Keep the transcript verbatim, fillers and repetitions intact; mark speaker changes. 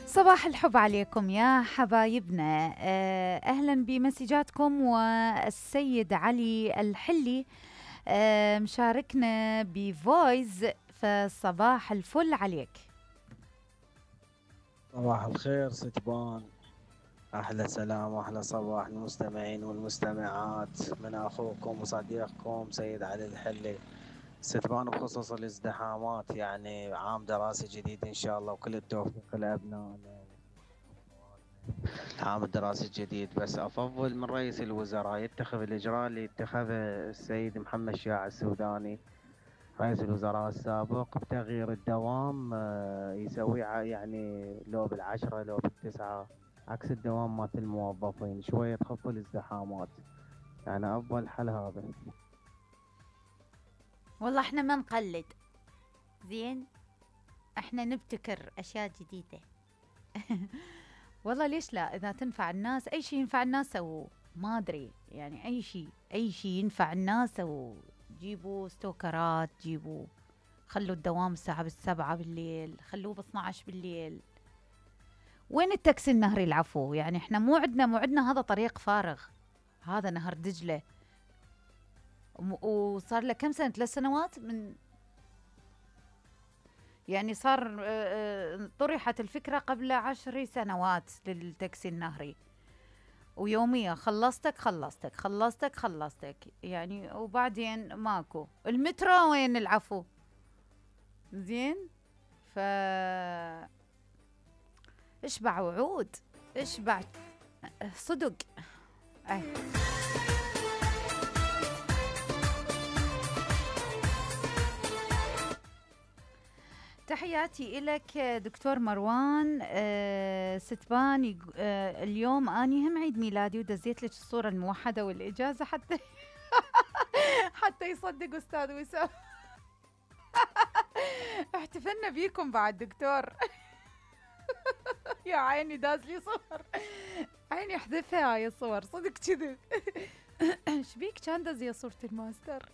Speaker 1: صباح الحب عليكم يا حبايبنا. آه، أهلا بمسجاتكم. والسيد علي الحلي آه، مشاركنا بفويز، فصباح الفل عليك.
Speaker 2: صباح الخير ستبان، أحلى سلام وأحلى صباح المستمعين والمستمعات من أخوكم وصديقكم سيد علي الحلي. ستبان بخصوص الازدحامات، يعني عام دراسي جديد إن شاء الله وكل التوفيق لأبنائنا. العام الدراسي الجديد، بس أفضل من رئيس الوزراء يتخذ الإجراء اللي اتخذه السيد محمد شياع السوداني رئيس الوزراء السابق بتغيير الدوام. آه، يسوي ع- يعني لو بالعشرة لو بالتسعة، عكس الدوام مات الموظفين، شوية تخف الازدحامات. يعني أفضل حل هذا.
Speaker 1: والله احنا ما نقلد، زين، احنا نبتكر اشياء جديدة. والله ليش لا؟ اذا تنفع الناس، اي شيء ينفع الناس سووه. ما ادري يعني، اي شيء اي شيء ينفع الناس سووه. جيبوا ستوكرات، جيبوا، خلوا الدوام الساعة بالسبعة بالليل، خلوه باثناعش بالليل. وين التاكسي النهري العفو؟ يعني احنا مو عندنا مو عندنا هذا طريق فارغ، هذا نهر دجلة. وم- وصار له كم سنة؟ ثلاث سنوات من، يعني صار آه، آه، طرحت الفكرة قبل عشر سنوات للتاكسي النهري، ويوميا خلصتك خلصتك خلصتك خلصتك يعني، وبعدين ماكو. المترو وين العفو؟ زين. ف اشبع وعود، اشبع صدق. أي. تحياتي إلك دكتور مروان. أه ستبان يق- أه اليوم أني هم عيد ميلادي، ودزيت لك الصورة الموحدة والإجازة حتى حتى يصدق أستاذ وسام. احتفلنا بيكم بعد دكتور. يا عيني داز لي صور، عيني احذفها هاي الصور صدق كذب. شبيك كان دز يا صورة الماستر؟